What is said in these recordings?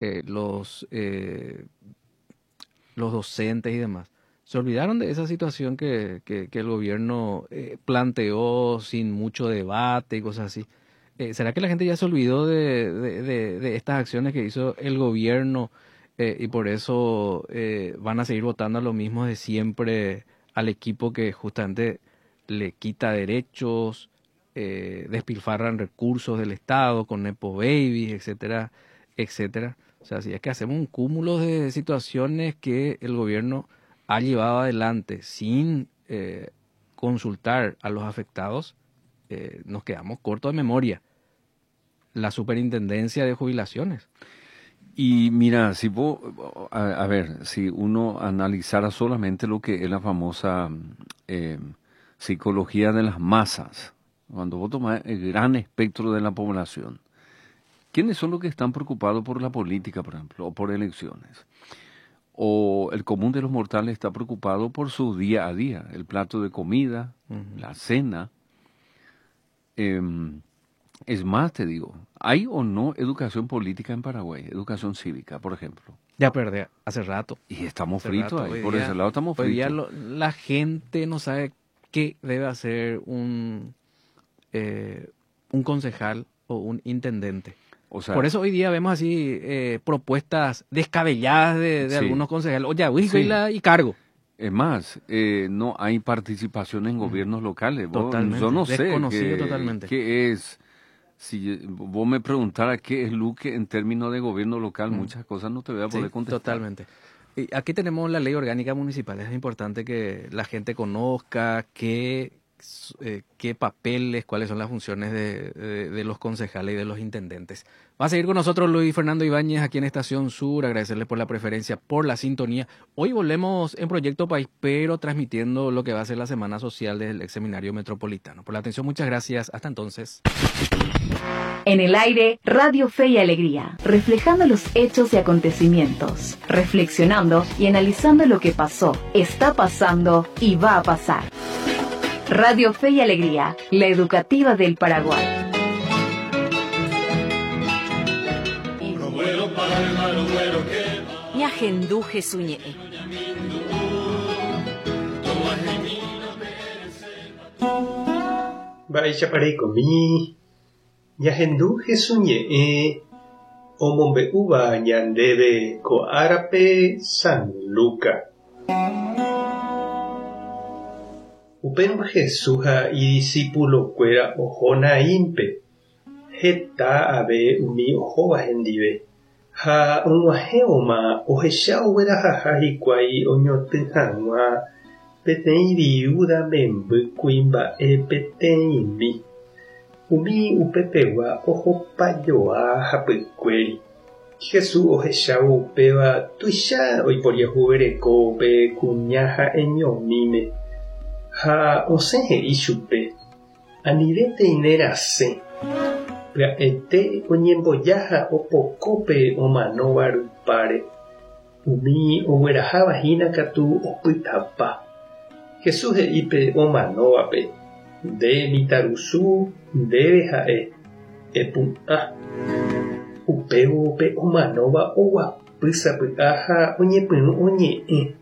Eh, los, eh, los docentes y demás. Se olvidaron de esa situación que, que, el gobierno eh, planteó sin mucho debate y cosas así. ¿Será que la gente ya se olvidó de, de, de, estas acciones que hizo el gobierno y por eso van a seguir votando a lo mismo de siempre al equipo que justamente le quita derechos, despilfarran recursos del Estado con Nepo Babies, etcétera, etcétera? O sea, si es que hacemos un cúmulo de situaciones que el gobierno ha llevado adelante sin eh, consultar a los afectados, eh, nos quedamos cortos de memoria. La superintendencia de jubilaciones. Y mira, si vos, a, ver, si uno analizara solamente lo que es la famosa eh, psicología de las masas, cuando vos tomás el gran espectro de la población, ¿quiénes son los que están preocupados por la política, por ejemplo, o por elecciones? O el común de los mortales está preocupado por su día a día, el plato de comida, la cena. Es más, te digo, ¿hay o no educación política en Paraguay? Educación cívica, por ejemplo. Ya perdí, hace rato. Y estamos fritos ahí, por ese lado estamos fritos. Hoy día la gente no sabe qué debe hacer un concejal o un intendente. O sea, por eso hoy día vemos así propuestas descabelladas de algunos concejales. Oye, sí. y cargo. Es más, no hay participación en gobiernos locales. Totalmente. Yo no sé Desconocido totalmente. qué es. Si vos me preguntaras qué es Luque en términos de gobierno local, muchas cosas no te voy a poder contestar. Totalmente. Y aquí tenemos la ley orgánica municipal. Es importante que la gente conozca qué papeles, cuáles son las funciones de los concejales y de los intendentes. Va a seguir con nosotros Luis Fernando Ibáñez aquí en Estación Sur. Agradecerles por la preferencia, por la sintonía. Hoy volvemos en Proyecto País, pero transmitiendo lo que va a ser la Semana Social del ex Seminario Metropolitano. Por la atención, muchas gracias. Hasta entonces. En el aire, Radio Fe y Alegría, reflejando los hechos y acontecimientos, reflexionando y analizando lo que pasó, está pasando y va a pasar. Radio Fe y Alegría, la educativa del Paraguay. Ñahendu Jesús ñe'ẽ. Mba'éichapa reikomi? Ñahendu Jesús ñe'ẽ omombe'úva ñandéve ko árape San Luca. Upérõ Jesús ha idisipulokuéra oho Naínpe, heta ave umi ohóva hendive. Ha og̃uahẽvoma ohecha oguerahaha hikuái oñotỹ hag̃ua peteĩ viúda memby kuimba'e peteĩmi. Umi upepegua ohopajoa hapykuéri. Jesús ohechávo upéva tuicha oiporiahuvereko pe kuña ha'eñomíme, ha osẽ he'i chupe, Anivétei ne rasẽ. Pya'ete oñemboja ha opoko pe omanóva rupáre. Umi ogueraháva hína katu opytapa. Jesús he'i pe omanóvape, Nde mitãrusu, ndéve ha'e, epu'ã. Upévo pe omanóva oguapy sapy'a ha oñepyrũ oñe'ẽ.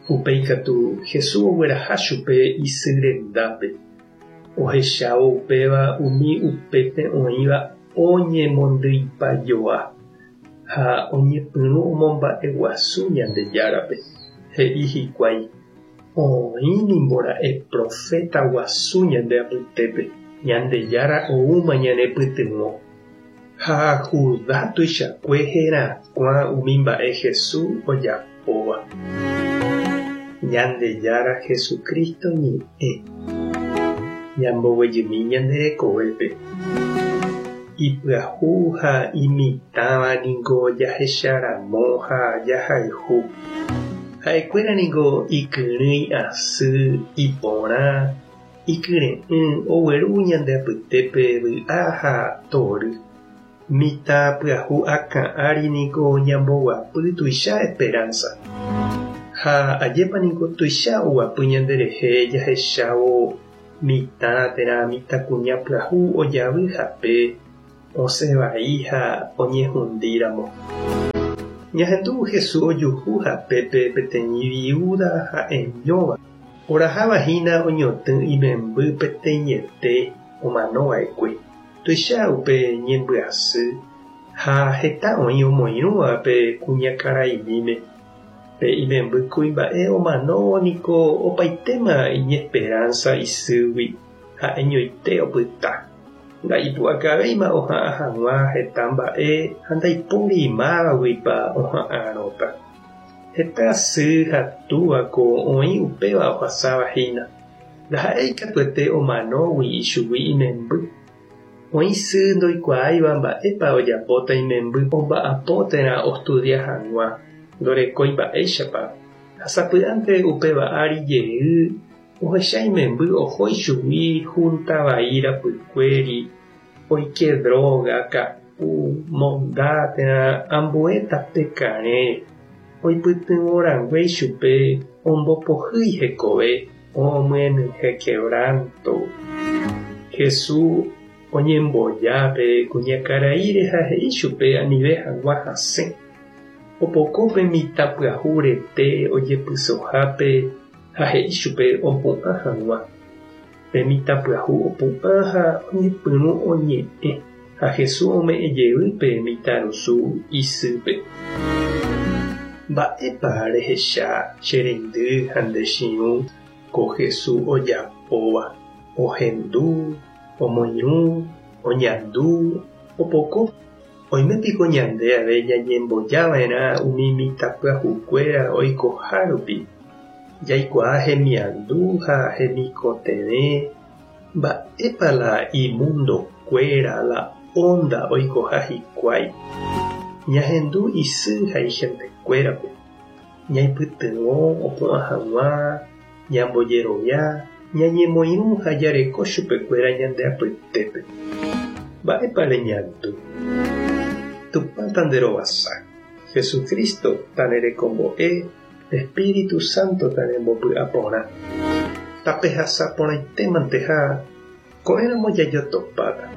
Upéi katu Jesús ogueraha chupe isy rendápe. Ohechávo upéva umi upépe oĩva oñemondyipajoa ha oñepyrũ omomba'eguasu Ñandejárape. He'i hikuái, Oĩ nimbora'e proféta guasu ñande apytépe, Ñandejára oúma ñanepytyvõ. Ha Judá tuichakue herakuã umi mba'e Jesús ojapóva. Ñandejára Jesucristo ñe'ẽ. Ñamboguejymi ñande rekovépe. Ipyahu ha imitãva niko jahecharamo ha jahayhu. Ha'ekuéra niko ikyrỹi asy, iporã, ikyre'ỹ, ogueru ñande apytépe vy'a ha tory. Mitã pyahu akã ári niko ñamboguapy tuicha esperanza. Ha ajépa niko tuicha oguapy ñanderehe jahechávo mitã térã mitãkuña pyahu ojavy hape. osẽ vai ha oñehundíramo. Ñahendu Jesús ojuhu hapépe peteĩ viúda ha'eñóva, oraháva hína oñotỹ imemby peteĩete omano va'ekue. Tuicha upe ñembyasy ha heta oĩ omoirũva pe kuñakaraimíme. Pe imemby kuimba'e omanóvo niko opaitéma iñesperánsa isýgui, ha'eñoite opyta. Nda'ipu'akavéima oha'ã hag̃ua heta mba'e ha ndaipóri mávaguipa oha'ãrõta. Heta sy ha túva ko oĩ upéva ohasáva hína. Ndaha'éi katuete omanógui ichugui imemby. Oĩ sy ndoikuaáiva mba'épa ojapóta imemby omba'apo térã ostudia hag̃ua, ndorekói mba'éichapa, ha sapy'ánte upéva ári jey ohecha imemby oho ichugui húnta vai rapykuéri, oike dróga, ka'u, monda térã ambue tape karẽ, oipytyvõ rangue ichupe ombopohýi hekove. Omyenyhẽ quebranto. Jesús oñemboja pe kuñakaraíre ha he'i chupe anive hag̃ua hasẽ. Opoko pe mitã pyahu rete ojepysohápe ha he'i chupe opu'ã hag̃ua. Pe mitã pyahu opu'ã ha oñepyrũ oñe'ẽ, ha Jesús ome'ẽ jey pe mitãrusu isýpe. Mba'épa rehecha che reindy ha nde chi'ũ ko Jesús ojapóva? Ohendu, omoirũ, oñandu, opoko. Oime piko ñande ave ñañemboja va'erã umi mitãpyahukuéra oikoha rupi, jaikuaa hemiandu ha hemikotevẽ, mba'épa la imundokuéra, la ónda oikoha hikuái. Ñahendu isy ha ihentekuérape, ñaipytyvõ opu'ã hag̃ua, ñambojerovia, ñañemoirũ ha jareko chupekuéra ñande apytépe. Mba'épa reñandu? Tupã tanderovasa, Jesucristo tanerekombo'e, Espíritu Santo tanembopy'aporã. Tapehasa porãitémante ha ko'ẽramo jajotopáta.